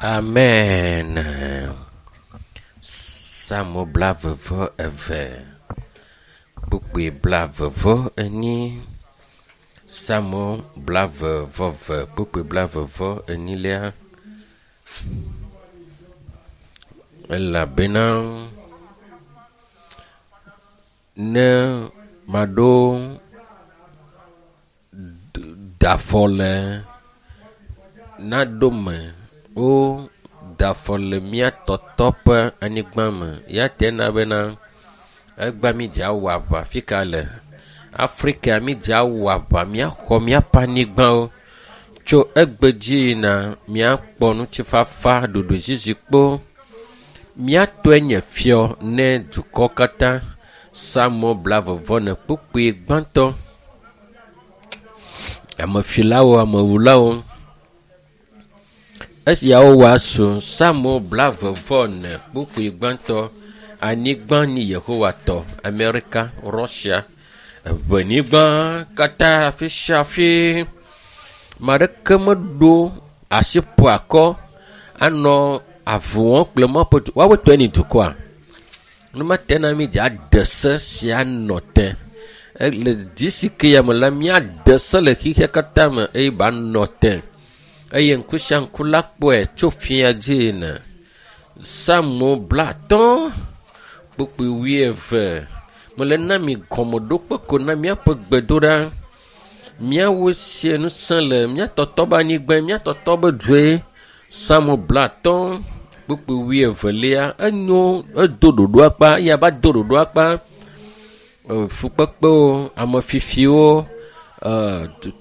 Amen. Psalmo 22, kpukpui 42. Psalmo 22, kpukpui 42. Elabena ne maɖo dafɔ le naɖo me wo dafɔ le mía tɔtɔ ƒe anyigba me ya te na bena egba mi dza wɔ aʋa fika le Afrika mi dza wɔ aʋa míaxɔ míaƒe anyigbawo tso egbe dzi yina míakpɔ ŋutifafa ɖoɖodzizikpo míatɔe nye fiɔ ne dukɔ katã. Psalmo 24 kpukpui gbãtɔ. Amefilawo, amewulawo. Esiawo wɔ asu. Psalmo 24 kpukpui gbãtɔ. Anyigba ni Yehowa tɔ. Amerika, Russia, eʋenyigba katã afi sia afi. Ame aɖeke meɖo asi ƒo akɔ anɔ avu wɔm kple Mawu ƒe du. Woawoe tɔe ni dukɔa. Numate na mi dza de se sia nɔ te. Le dzi si ke ya me la, míade se le xexea katã me eye ba nɔ te. Eye ŋku sia ŋku la kpɔe tso fia dzi yina. Psalmo 50 kpukpui 20. Mele na mi gɔmeɖokpe ko na míaƒe gbedoɖa. Míawo sie ŋusẽ le mía tɔtɔ be anyigba, mía tɔtɔ be due. Psalmo 50 kpukpui 22. Enyo, edo ɖoɖo akpa, eya va do ɖoɖo akpa. Fukpekpewo, amefifiwo,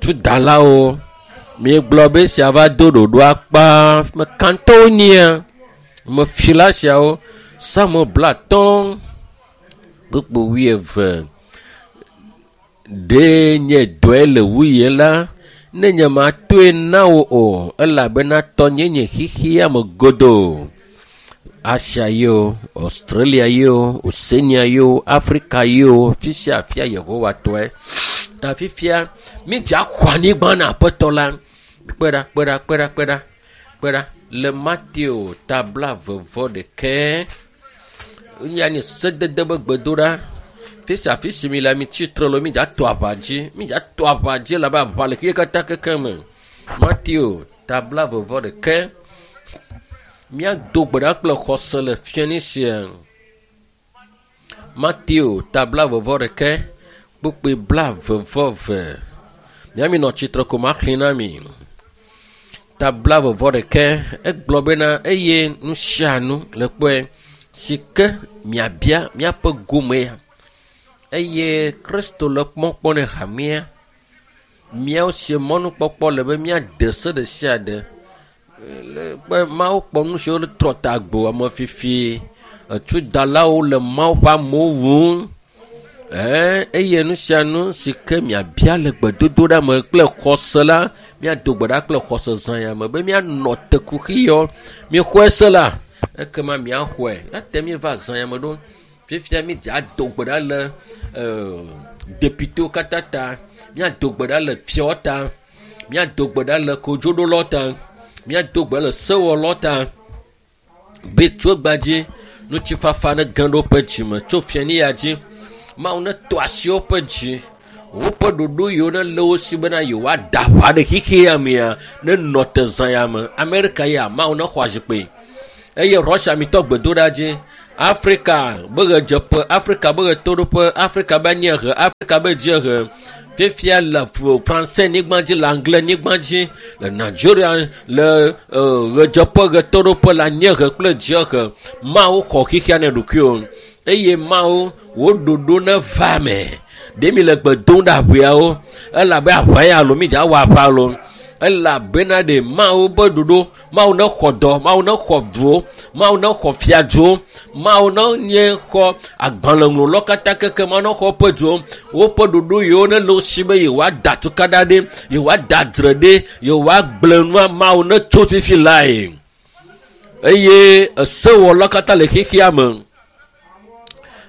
tudalawo. Miegblɔ be sia va do ɖoɖo akpa. Mekantɔwo nyia. Mefila siawo. Psalmo 50 kpukpui 20. Ɖe nye dɔe le wuye la, ne nye matoe na wo o, elabena tɔnye nye xexea me godoo. Asia yeo, Australia yeo, Oceania yeo, Afrika yeo, fi sia fia Yehowa tɔe. Ta fifia, mi dza xɔ anyigba na aƒetɔ la. Kpe ɖa, kpe ɖa, kpe ɖa, kpe ɖa, kpe ɖa. Le Mateo ta 21. Nya nye sedede be gbedoɖa. Fi sia fi si mi le mi tsitre le mi dza to aʋa dzi. Mi dza to aʋa dzi elabe aʋa le xexea katã keke me. Mateo ta 21. Míado gbe ɖa kple xɔse le fiani sia. Mateo ta 21 kpukpui 22. Míami nɔ tsitre ko maxlẽ na mi. Ta 21 egblɔ bena eye nu sia nu le kpɔe si ke miabia míaƒe gome ya. Eye Kristo le kpɔkpɔ ne hamea. Míawo sie mɔnukpɔkpɔ le be míade se ɖe sia ɖe. Le Mawu kpɔ nu siwo trɔ ta gbo amefifi. Etudalawo le Mawu ƒe amewo wum. Eye nu sia nu si ke miabia le gbedodoɖa me kple xɔse la, míado gbe ɖa kple xɔse zã ya me be míanɔ te kuxi yɔ. Míexɔe se la, ekema míaxɔe. Ate míeva zã ya me ɖo. Fifia mi dza do gbe ɖa le depitewo katã ta. Míado gbe ɖa le fiawo ta. Míado gbe ɖa le kodzoɖolawo ta. Míado gbe le sewɔlawo ta. Be tso egba dzi, ŋutifafa ne ge ɖe woƒe dzime tso fiani ya dzi. Mawu ne tɔ asi woƒe dzi. Woƒe ɖoɖo yiwo ne le wo si bena yewoada aʋa ɖe xexea mea, ne nɔ te zã ya me. Amerika ya, Mawu ne xɔ azikpui. Eye Russia mitɔ gbedoɖa dzi. Afrika be ɣedzeƒe, Afrika be ɣetoɖoƒe, Afrika be anyiehe, Afrika be dziehe. Fifia le Francais nyigba dzi, le Anglais nyigba dzi, le Nigeria, le ɣedzeƒe, ɣetoɖoƒe, le anyiehe kple dziehe. Mawu xɔ xexea ne ɖokuiwo. Eye Mawu wo ɖoɖo ne va me. Ɖe mi le gbe dom ɖe aʋeawo. Elabe aʋa ya alo mi dza wɔ aʋa alo. Elabena ɖe Mawu be ɖoɖo, Mawu ne xɔ dɔ, Mawu ne xɔ duwo, Mawu ne xɔ fiaduwo, Mawu ne nye xɔ agbalẽŋlɔlawo katã keke, Mawu ne xɔ woƒe duwo, woƒe ɖoɖo yiwo ne le wo si be yewoada tukaɖa ɖe, yewoada dzre ɖe, yewoagblẽ nua, Mawu ne tso fifi lae. Eye esewɔlawo katã le xexea me.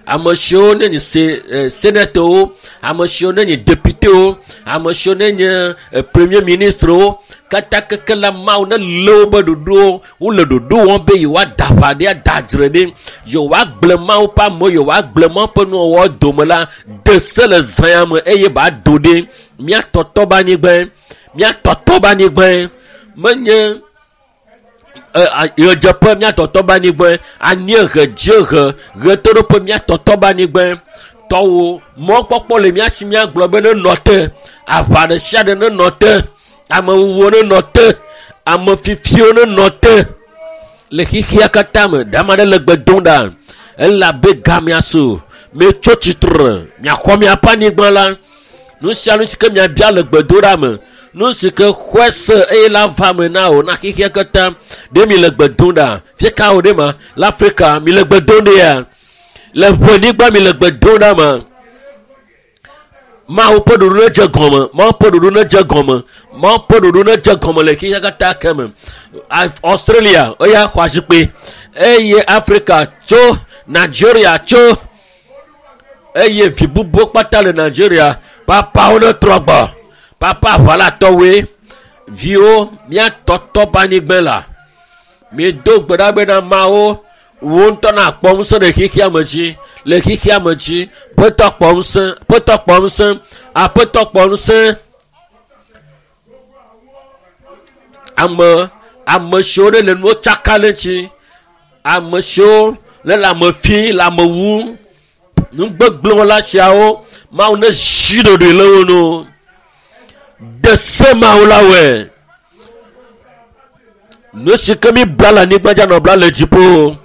Ame siwo ne nye se senetɔwo, ame siwo ne nye députéwo, ame siwo ne nye premier ministrewo, katã keke la Mawu ne lé wobe ɖoɖowo, wole ɖoɖo wɔm be yewoada aʋa ɖe, ada dzre ɖe, yewoagblẽ Mawu ƒe amewo, yewoagblẽ Mawu ƒe nuwɔwɔ dome la, de se le zã ya me eye ba do ɖe míatɔtɔ be anyigbae, míatɔtɔ be anyigbae. Menye ɣedzeƒe míatɔtɔ be anyigbae, anyiehe, dziehe, ɣetoɖoƒe míatɔtɔ be anyigbae. Tɔwo mɔkpɔkpɔ le mía si míagblɔ be nenɔ te, aʋa ɖe sia ɖe nenɔ te, amewuwuwo nenɔ te, ame fifiwo nenɔ te le xexea katã me. Ɖe ame aɖe le gbe dom ɖa elabe gamea su. Mietso tsitre, miaxɔ miaƒe anyigba la. Nu sia nu si ke miabia le gbedoɖa me, nu si ke xɔe se eye la va me na wò na xexea katã. Ɖe mi le gbe dom ɖa? Fie ka wò ɖe ma? Le Afrika mi le gbe dom ɖea? Le ʋenyigba mi le gbe dom ɖa ma? Mawu ƒe ɖoɖo ne dze gɔme, Mawu ƒe ɖoɖo ne dze gɔme, Mawu ƒe ɖoɖo ne dze gɔme le xexea katã ke me. Australia eya xɔ azikpui eye Afrika tso, Nigeria tso eye vi bubuwo kpata le Nigeria. Papawo ne trɔ gbɔ. Papa aʋalatɔwoe. Viwo míatɔtɔ be anyigba la. Míedo gbe ɖa bena Mawu wo ŋutɔ nakpɔ ŋusẽ ɖe xexea me dzi, le xexea me dzi. Ƒetɔ kpɔ ŋusẽ, ƒetɔ kpɔ ŋusẽ, aƒetɔ kpɔ ŋusẽ. Ame ame siwo ɖe le nuwo tsaka ɖe ŋuti, ame siwo le le ame fi le ame wum, nugbegblẽwɔla siawo, Mawu ne zi ɖoɖoe le wo nu. De se Mawu la wɔe. Nu si ke mi bla le anyigba dzi anɔ bla le dziƒo.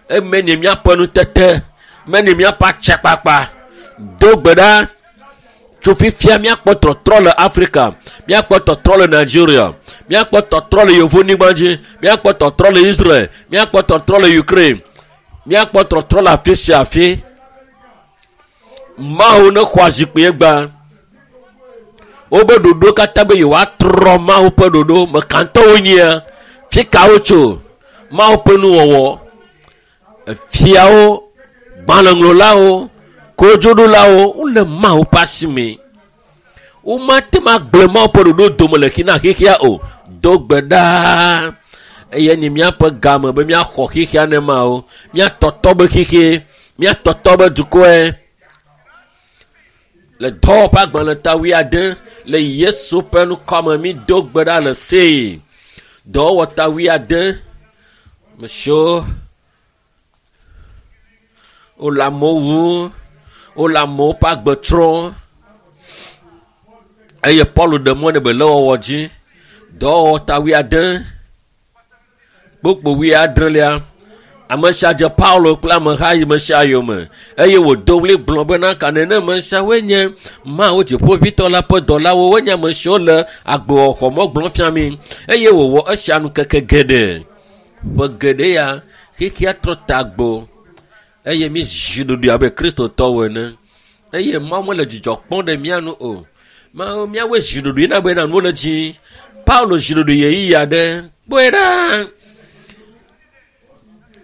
Eme nye míaƒe nutete, me nye míaƒe atsakpakpa. Do gbe ɖa tso fifia míakpɔ tɔtrɔ le Afrika, míakpɔ tɔtrɔ le Nigeria, míakpɔ tɔtrɔ le yevonyigba dzi, míakpɔ tɔtrɔ le Israel, míakpɔ tɔtrɔ le Ukraine, míakpɔ tɔtrɔ le afi sia afi. Mawu ne xɔ azikpui gbã. Wobe ɖoɖo katã be yewoatrɔ Mawu ƒe ɖoɖo. Mekantɔwo nyia? Fi ka wotso? Mawu ƒe nuwɔwɔ. Fiawo, gbalẽŋlɔlawo, kodzoɖolawo wole Mawu ƒe asi me. Womate ŋu agblẽ Mawu ƒe ɖoɖo dome le xina xexea o. Do gbe ɖa eye nye míaƒe game be míaxɔ xexea ne Mawu. Míatɔtɔ be xexe, míatɔtɔ be dukɔe. Le dɔwɔƒe agbalẽ ta wuiade le Yesu ƒe ŋkɔme mi do gbe ɖa le see. Dɔwɔwɔ ta wuiade mesiwo wole amewo wum, wole amewo ƒe agbe trɔm eye Paul ɖe mɔ nɛ be le wɔwɔ dzi. Dɔwɔwɔ ta wuiade kpokpo wuiadrelia. Ame sia dze Paulo kple ameha yi me sia yome eye wòdo ɣli gblɔ bena ka nene ame siawoe nye Mawu dziƒoʋĩtɔ la ƒe dɔlawo, wonye ame siwo le agbewɔxɔmɔ gblɔm fia mi eye wòwɔ esia ŋkeke geɖe. Ƒe geɖe ya xexea trɔ tagbo eye mi zi ɖoɖoe abe kristotɔwo ene eye Mawu mele dzidzɔ kpɔm ɖe mía nu o. Mawu míawoe zi ɖoɖoe na bena nuwo le dzi. Paulo zi ɖoɖoe ɣeyiɣi aɖe kpɔe ɖa.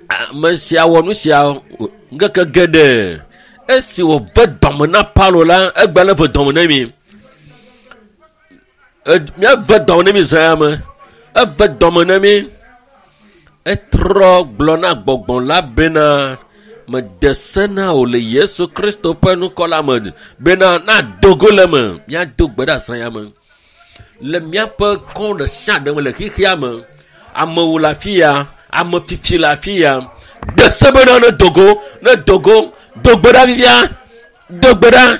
Ame sia wɔ nu sia ŋkeke geɖe. Esi wòve dɔme na Paulo la, egbe le ve dɔme na mi. Míeve dɔme na mi zã ya me. Eve dɔme na mi. Etrɔ gblɔ na gbɔgbɔ la bena mede se na wò le Yesu Kristo ƒe ŋkɔ la me bena nado go le eme. Míado gbe ɖe azã ya me. Le míaƒe kɔ ɖe sia ɖe me le xexea me, amewo le afi ya, ame fifi le afi ya. De se bena ne do go, ne do go, do gbe ɖa fifia, do gbe ɖa.